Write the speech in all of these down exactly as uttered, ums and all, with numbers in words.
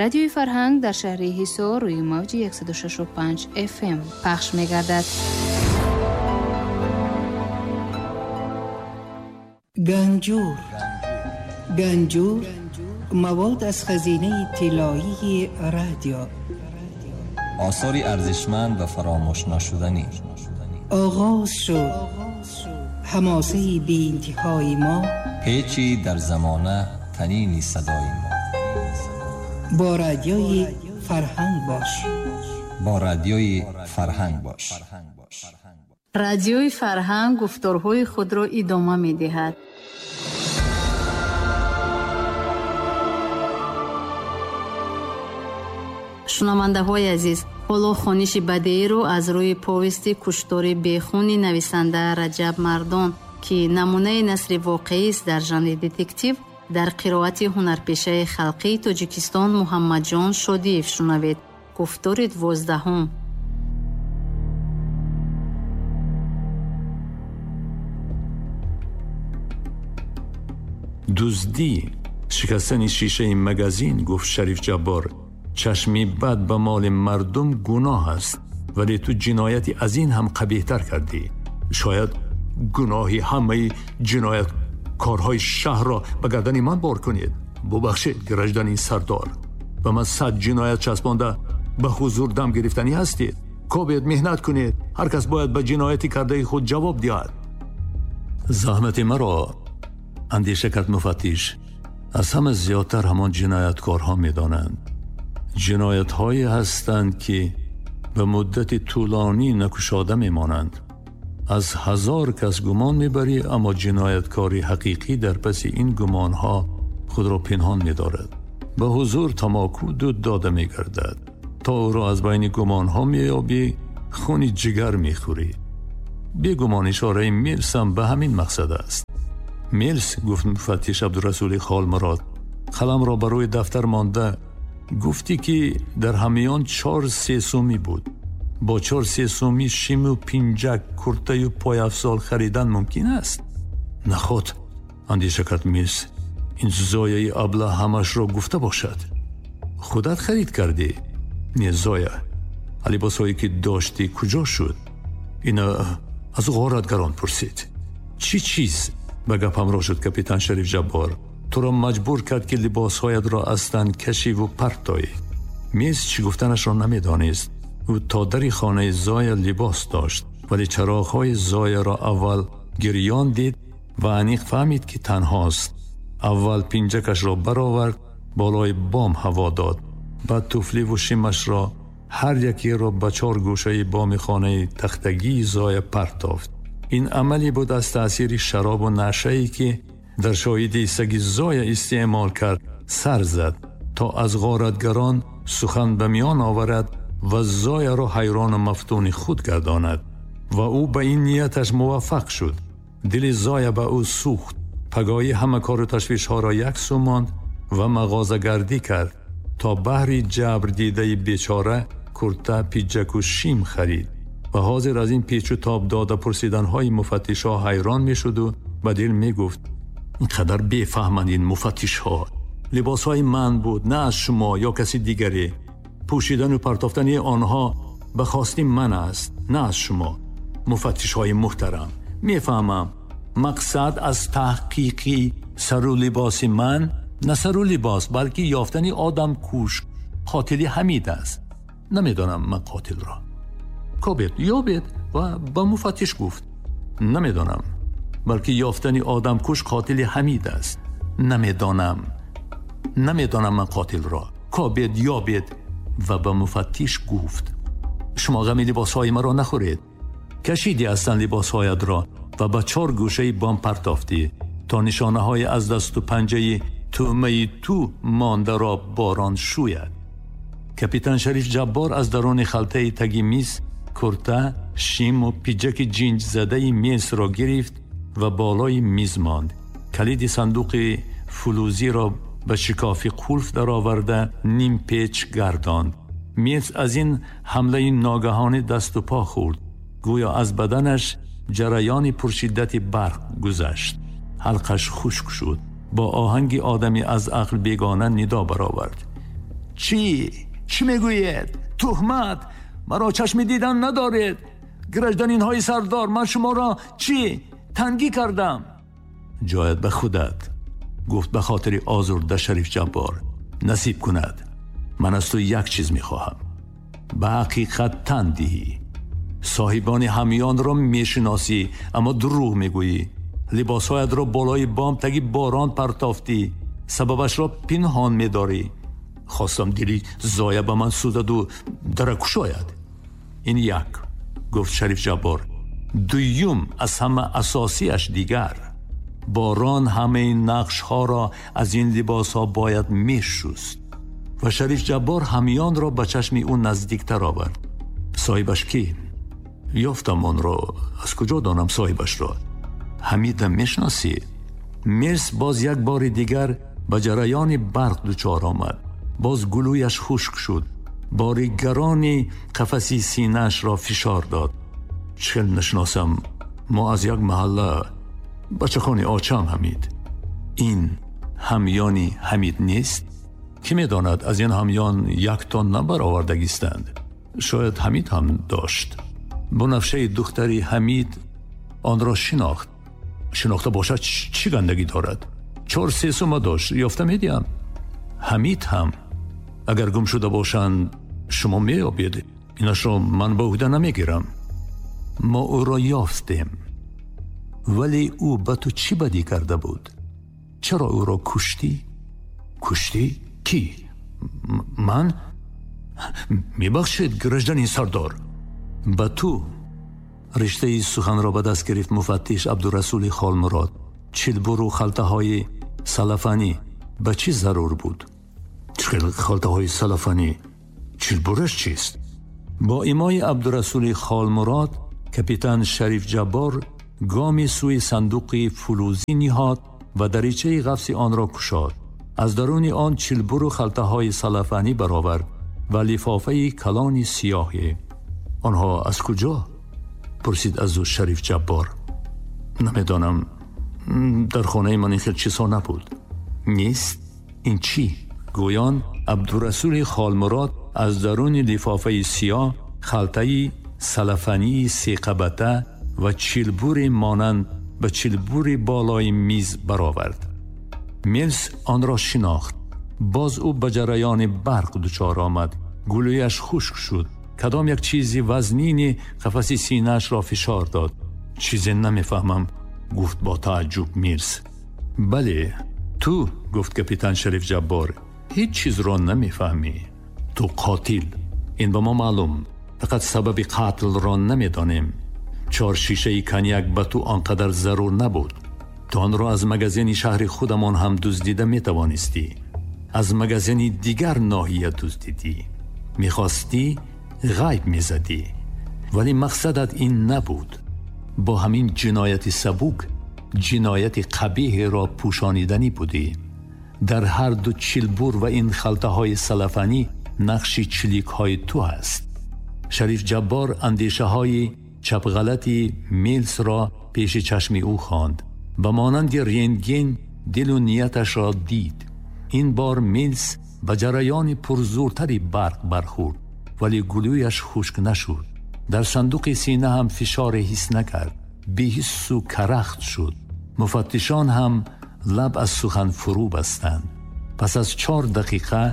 Радиои Фарҳанг дар шаҳри Ҳисор рӯи мавҷи яксаду шашу панҷ эф эм пахш мегардад. Ганҷур. Ганҷур мавод аз хазинаи тиллоии радио. Осори арзишманд ва фаромӯш нашуданӣ. Оғоз шуд ҳамосаи беинтиҳои мо. Печи дар замона танини садои мо. Бо радиои Фарҳанг бош. Бо радиои Фарҳанг бош. Радиои Фарҳанг гуфторҳои худро идома медиҳад. Шунавандаҳои азиз, ҳоло хониши бадеиро аз рӯи повести куштори бехуни нависанда Раҷаб Мардон, ки намунаи насри воқеист дар жанри детектив, дар қироати ҳунарпешаи халқии Тоҷикистон Муҳаммадҷон Шодиев шунавед. Гуфтори дувоздаҳум. Дуздӣ, шикастани шишаи магазин, гуфт Шариф Ҷаббор, чашми бад ба моли мардум гуноҳ аст, вале ту ҷинояти аз ин ҳам қабеҳтар кардӣ. Шояд гуноҳи ҳамаи ҷинояткорҳои шаҳрро ба гардани ман бор кунед. Бубахшед, гражданин сардор, ба ман сад ҷиноят часпонда ба ҳузур дам гирифтанӣ ҳастед. Кобед, меҳнат кунед. Ҳар кас бояд ба ҷинояти кардаи худ ҷавоб диҳад. Заҳмати маро, андеша кард муфаттиш, аз ҳама зиёдтар ҳамон ҷинояткорҳо медонанд. Ҷиноятҳое ҳастанд, ки ба муддати тӯлонӣ накушода мемонанд. Аз ҳазор кас гумон мебарӣ, аммо ҷинояткори ҳақиқӣ дар паси ин гумонҳо худро пинҳон медорад. Ба ҳузур тамоку дуд дода мегардад. То ӯро аз байни гумонҳо меёбӣ, хуни ҷигар мехӯрӣ. Бегумон ишораи Милс ҳам ба ҳамин мақсад аст. Милс, гуфт муфаттиш Абдурасули Холмурод, қаламро ба рӯи дафтар монда, гуфтӣ ки дар ҳамиён чор сесумӣ буд. Бо чор сесумӣ шиму пинҷак, куртаю пойафзол харидан мумкин аст? Наход, андеша кард Милс, ин зояи абла ҳамашро гуфта бошад. Худат харид кардӣ? Не, зоя. Либосҳое ки доштӣ куҷо шуд? Ина аз ғоратгарон пурсид. Чӣ чиз? Ба гап ҳамроҳ шуд капитан Шариф Ҷаббор. Туро маҷбур кард, ки либосҳоятро аз тан кашиву партоӣ. Милс чӣ гуфтанашро намедонист. Ӯ то дари хонаи Зоя либос дошт, вале чароғҳои Зояро аввал гирён дид ва аниқ фаҳмид, ки танҳост. Аввал пинҷакашро баровард, болои бом ҳаво дод. Баъд туфливу шимашро ҳар якеро ба чор гӯшаи боми хонаи тахтагии Зоя партофт. Ин амале буд аз таъсири шаробу нашае, ки дар шоҳиди саги Зоя истеъмол кард, сар зад, то аз ғоратгарон сухан ба миён оварад ва Зояро ҳайрону мафтуни худ гардонад. Ва ӯ ба ин нияташ муваффақ шуд. Дили Зоя ба ӯ сӯхт. Пагоҳӣ ҳама кору ташвишҳоро яксӯ монд ва мағозагардӣ кард, то баҳри ҷабр дидаи бечора курта, пиҷаку шим харид. Ва ҳозир аз ин печу тоб дода пурсиданҳои муфаттишҳо ҳайрон мешуду ба дил мегуфт: ин қадар бефаҳманд ин муфаттишҳо. Либосҳои ман буд, на аз шумо ё каси дигаре. Пӯшидану партофтани онҳо ба хости ман аст, на аз шумо. Муфаттишҳои муҳтарам, мефаҳмам, мақсад аз таҳқиқи сару либоси ман на сару либос, балки ёфтани одамкуш, қотили Ҳамид аст. Намедонам ман қотилро. Кобед, ёбед, ва ба муфаттиш гуфт: намедонам, балки ёфтани одамкуш қотили Ҳамид аст. Намедонам, намедонам ман қотилро. Кобед, ёбед. Ва ба муфаттиш гуфт: шумо ғами либосҳои маро нахӯред. Кашиди ҳастанд либосҳоятро ва ба чор гӯшаи бом партофтӣ, то нишонаҳои аз дасту панҷаи тӯъмаи ту мондаро борон шӯяд. Капитан Шариф Ҷаббор аз даруни халтаи таги миз курта, шиму пиҷаки ҷинҷзадаи Милсро гирифт ва болои миз монд. Калиди сандуқи фулузиро ба шикофи қулф дароварда ним печ гардонд. Милс аз ин ҳамлаи ногаҳонӣ дасту по хӯрд. Гӯё аз баданаш ҷараёни пуршиддати барқ гузашт. Ҳалқаш хушк шуд. Бо оҳанги одами аз ақл бегона нидо баровард: Чӣ? Чӣ мегӯед? Туҳмат! Маро чашми дидан надоред. Гражданинҳои сардор, ман шуморо чӣ? Тангӣ кардам. Ҷоят ба худат, гуфт ба хотири озурда Шариф Ҷаббор. Насиб кунад. Ман аз ту як чиз мехоҳам. Ба ҳақиқат тан диҳӣ. Соҳибони ҳамёнро мешиносӣ, аммо дурӯғ мегӯӣ. Либосҳоятро болои бом таги борон партофтӣ. Сабабашро пинҳон медорӣ. Хостам дили зоя ба ман сӯзаду дара кушояд. Ин як, гуфт Шариф Ҷаббор. Дуюм, аз ҳама асосиаш дигар. Борон ҳамаи нақшҳоро аз ин либосҳо бояд мешуст. Ва Шариф Ҷаббор ҳамёнро ба чашми ӯ наздиктар овард. Соҳибаш кӣ? Ёфтам онро. Аз куҷо донам соҳибашро? Ҳамидам мешиносӣ? Мирс боз як бори дигар ба ҷараёни барқ дучор омад. Боз гулӯяш хушк шуд. Бори гарони қафаси синаашро фишор дод. Чел нашиносам, мо аз як маҳалла, бачахони очам Ҳамид. Ин ҳамёни Ҳамид нест? Кӣ медонад, аз ин ҳамён як тон набаровардагистанд. Шояд Ҳамид ҳам дошт. Бунафшаи духтари Ҳамид онро шинохт. Шинохта бошад чӣ гандагӣ дорад? Чор се сума дошт, ёфта медиҳам. Ҳамид ҳам агар гум шуда бошанд, шумо меёбед. Инашро ман ба уҳда намегирам. Мо ӯро ёфтем. Вале ӯ ба ту чӣ бадӣ карда буд? Чаро ӯро куштӣ? Куштӣ? Кӣ? Ман? Мебахшед, гражданин сардор. Ба ту риштаи суханро ба даст гирифт муфаттиш Абдурасули Холмурод. Чилбуру халтаҳои салафанӣ ба чӣ зарур буд? Чӣ халтаҳои салафанӣ? Чилбураш чист? Бо имои Абдурасули Холмурод капитан Шариф Ҷаббор гоми сӯи сандуқи фулӯзӣ ниҳод ва даричаи ғафси онро кушод. Аз даруни он чилбуру халтаҳои салафанӣ баровард ва лифофаи калони сиёҳе. Онҳо аз куҷо? Пурсид аз ӯ Шариф Ҷаббор. Намедонам, дар хонаи ман ин хел чизҳо набуд. Нест? Ин чӣ? Гӯён Абдурасули Холмурод аз даруни лифофаи сиёҳ халтаи салафании сеқабата ва чилбури монанд ба чилбури болои миз баровард. Милс онро шинохт. Боз ӯ ба ҷараёни барқ дучор омад. Гулӯяш хушк шуд. Кадом як чизи вазнини қафаси синаашро фишор дод. Чизе намефаҳмам, гуфт бо тааҷҷуб Милс. Бале, ту, гуфт капитан Шариф Ҷаббор, ҳеҷ чизро намефаҳмӣ. Ту қотил. Ин ба мо маълум. Фақат сабаби қатлро намедонем. Чор шишаи коньяк ба ту он қадар зарур набуд. Ту онро аз магазини шаҳри худамон ҳам дуздида метавонистӣ. Аз магазини дигар ноҳия дуздидӣ. Мехостӣ ғайб мезадӣ. Вале мақсадат ин набуд. Бо ҳамин ҷинояти сабук ҷинояти қабиҳеро пӯшониданӣ будӣ. Дар ҳар ду чилбур ва ин халтаҳои салафанӣ нақши чиликҳои ту ҳаст. Шариф Ҷаббор андешаҳои чапғалати Милсро пеши чашми ӯ хонд. Ба монанди рентген дилу нияташро дид. Ин бор Милс ба ҷараёни пурзӯртари барқ бархӯрд, вале гулӯяш хушк нашуд. Дар сандуқи сина ҳам фишоре ҳис накард. Беҳиссу карахт шуд. Муфаттишон ҳам лаб аз сухан фурӯ бастанд. Пас аз чор дақиқа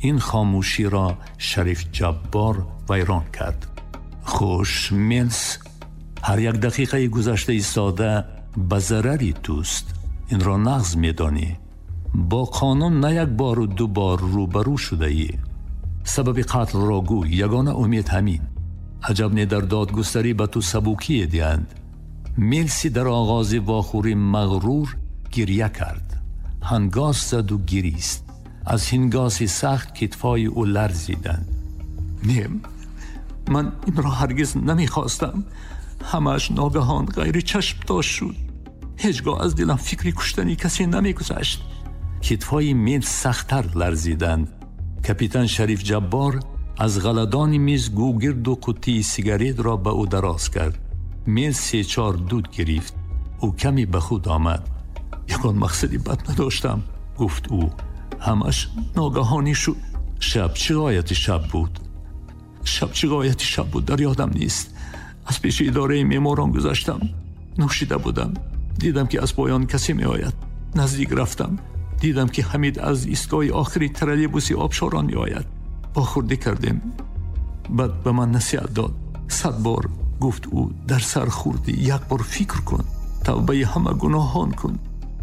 ин хомӯширо Шариф Ҷаббор вайрон кард. Хуш, Милс, ҳар як дақиқаи гузашта истода ба зарари туст. Инро нағз медонӣ. Бо қонун на як бору ду бор рӯбарӯ шудаӣ. Сабаби қатлро гӯй, ягона умед ҳамин. Аҷаб не дар додгустарӣ ба ту сабукие диҳанд. Милси дар оғози вохӯрӣ мағрур гиря кард. Ҳангос заду гирист. Аз ҳингоси сахт китфҳои ӯ ларзиданд. Не, ман инро ҳаргиз намехостам. Ҳамааш ногаҳон ғайри чашм дошт шуд. Ҳеҷ гоҳ аз дилам фикри куштани касе намегузашт. Китфҳои Милс сахттар ларзиданд. Капитан Шариф Ҷаббор аз ғаладони миз гӯгирду қуттии сигаретро ба ӯ дароз кард. Милс се-чор дуд гирифт. Ӯ каме ба худ омад. Ягон мақсади бад надоштам, гуфт ӯ. Ҳамаш ногаҳонӣ шуд. Шаб чӣ ғояти шаб буд? Шаб чӣ ғояти шаб буд, дар ёдам нест. Аз пеши идораи меъморон гузаштам. Нӯшида будам. Дидам ки аз поён касе меояд. Наздик рафтам. Дидам ки Ҳамид аз истгоҳи охири троллейбуси обшорон меояд. Бохӯрдӣ кардем. Баъд ба ман насиҳат дод. Сад бор гуфт ӯ, дар сар хӯрдӣ, як бор фикр кун, тавбаи ҳама гуноҳон кун.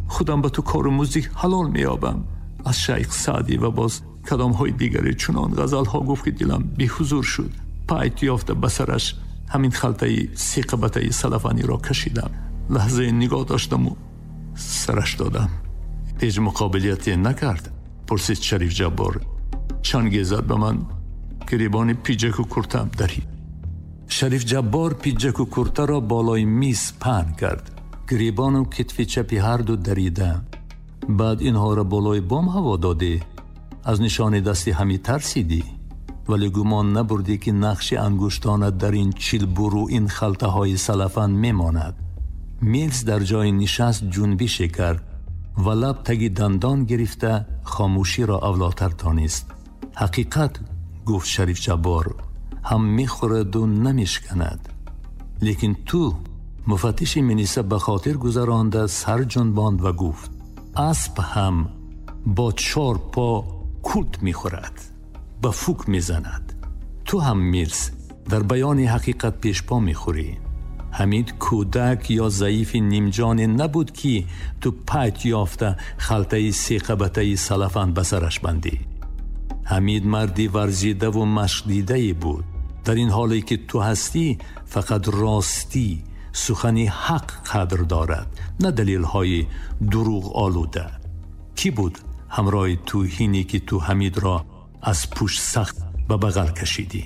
Худам ба ту кору музди ҳалол меёбам. Аз Шайх Саъдӣ ва боз кадомҳои дигаре чунон ғазалҳо гуфт, ки дилам беҳузур шуд. Пайт ёфта ба сараш ҳамин халтаи сеқабатаи салафаниро кашидам. Лаҳзае нигоҳ доштаму сараш додам. Ҳеҷ муқобилияте накард? Пурсид Шариф Ҷаббор. Чанге зад ба ман, гиребони пиҷаку куртаам дарид. Шариф Ҷаббор пиҷаку куртаро болои миз паҳн кард. Гиребону китфи чапи ҳарду дарида. Баъд инҳоро болои бом ҳаво додӣ. Аз нишони дасти Ҳамид тарсидӣ, вале гумон набурдӣ, ки нақши ангуштонат дар ин чилбуру ин халтаҳои салафан мемонад. Милс дар ҷои нишаст ҷунбише кард ва лаб таги дандон гирифта хомӯширо авлотар донист. Ҳақиқат, гуфт Шариф Ҷаббор, ҳам мехӯраду намешканад. Лекин ту муфаттиши милиса ба хотир гузаронда сар ҷунбонд ва гуфт: асп ҳам бо чор по култ мехӯрад, ба фук мезанад. Ту ҳам, Милс, дар баёни ҳақиқат пешпо мехӯрӣ. Ҳамид кӯдак ё заифи нимҷоне набуд, ки ту пайт ёфта халтаи сеқабатаи салафан ба сараш бандӣ. Ҳамид марди варзидаву машқдидае буд. Дар ин ҳоле ки ту ҳастӣ, фақат ростӣ, сухани ҳақ қадр дорад, на далелҳои дурӯғ олуда. Кӣ буд ҳамроҳи ту ҳине ки ту Ҳамидро аз пушт сахт ба бағал кашидӣ?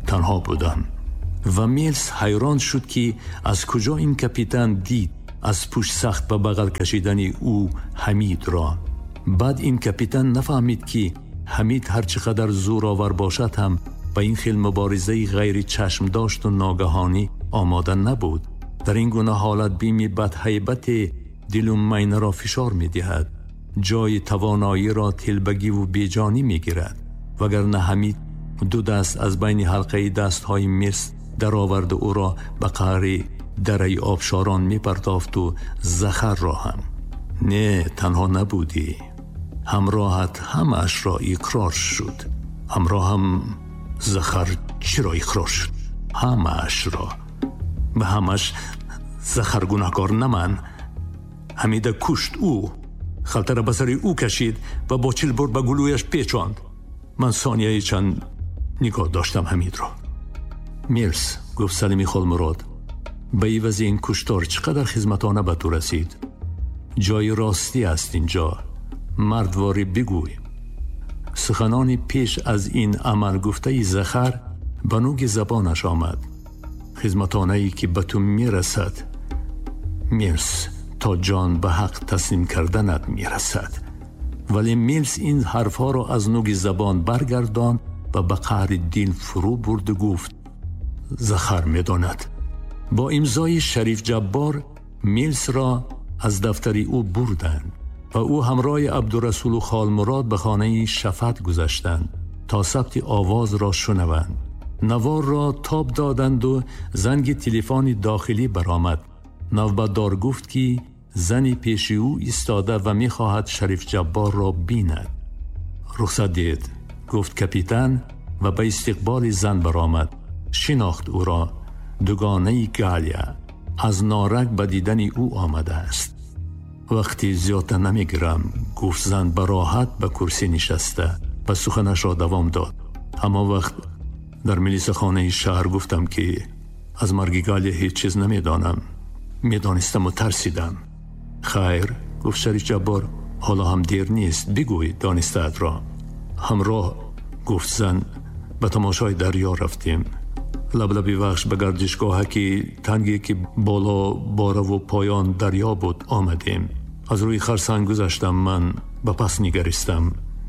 Танҳо будам. Ва Милс ҳайрон шуд, ки аз куҷо ин капитан дид аз пушт сахт ба бағал кашидани ӯ Ҳамидро. Баъд ин капитан нафаҳмид, ки Ҳамид ҳарчи қадар зӯровар бошад ҳам ба ин хел муборизаи ғайри чашмдошту ногаҳонӣ омода набуд. Дар ин гуна ҳолат бими бадҳайбате дилу майнаро фишор медиҳад, ҷои тавоноиро телбагиву беҷонӣ мегирад. Вагарна Ҳамид ду даст аз байни ҳалқаи дастҳои Милс дароварду ӯро ба қаъри дараи обшорон мепартофту Захарро ҳам. Не, танҳо набудӣ. Ҳамроҳат ҳамаашро иқрор шуд. Ҳамроҳам Захар чиро иқрор шуд? Ҳамаашро. Ба ҳамаш Захар гунаҳкор, на ман. Ҳамида кушт ӯ. Халтара ба сари ӯ кашид ва бо чилбур ба гулӯяш печонд. Ман сонияи чанд нигоҳ доштам Ҳамидро. Милс, гуфт Салими Холмурод, ба ивази ин куштор чӣ қадар хизматона ба ту расид. Ҷои ростӣ аст инҷо. Мардворӣ бигӯй. Суханони пеш аз ин амал гуфтаи Захар ба нуги забонаш омад. Хизматонае ки ба ту мерасад, Милс, то ҷон ба ҳақ таслим карданат мерасад. Вале Милс ин ҳарфҳоро аз нуги забон баргардонд ва ба қаъри дил фурӯ бурду гуфт: Захар медонад. Бо имзои Шариф Ҷаббор Милсро аз дафтари ӯ бурданд ва ӯ ҳамроҳи Абдурасулу Холмурод ба хонаи Шафат гузаштанд то сабти овозро шунаванд. Наворро тоб доданду занги телефони дохилӣ баромад. Навбатдор гуфт, ки зани пеши ӯ истода ва мехоҳад Шариф Ҷабборро бинад. Рухсат диҳед, гуфт капитан ва ба истиқболи зан баромад. Шинохт ӯро. Дугонаи Галия аз норак ба дидани ӯ омадааст. Вақти зиёдта намегирам, гуфт зан ба роҳат ба курсӣ нишаста ва суханашро давом дод. Ҳамон вақт дар милисахонаи шаҳр гуфтам, ки аз марги Галия ҳеҷ чиз намедонам. Медонистаму тарсидам. Хайр, гуфт Шариф Ҷаббор, ҳоло ҳам дер нест, бигӯй донистаатро. Ҳамроҳ, гуфт зан, ба тамошои дарё рафтем. Лаблаби вахш ба гардишгоҳаки танге, ки боло бораву поён дарё буд, омадем. Аз рӯи харсанг гузаштам, ман ба пас нигаристам.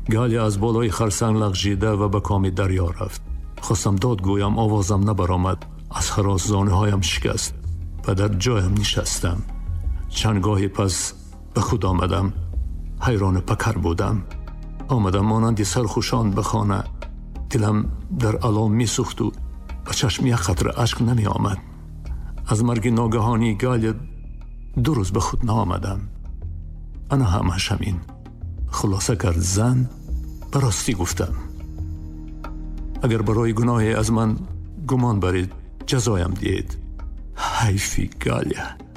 Галия аз болои харсанг лағжида ва ба коми дарё рафт. Хостам дод гӯям, овозам набаромад. Аз ҳарос зонуҳоям шикаст ва дар ҷоям нишастам. Чанд гоҳе пас ба худ омадам. Ҳайрону пакар будам. آمدم مانند سرخوشان به خانه. دلم در الام می سوخت و به چشم یک قطره اشک نمی آمد. از مرگ ناگهانی گالیا دو روز به خود نآمدم. انا همش همین. خلاصه کرد زن. به راستی گفتم اگر برای گناهی از من گمان برید جزایم دهید. حیفی گالیا.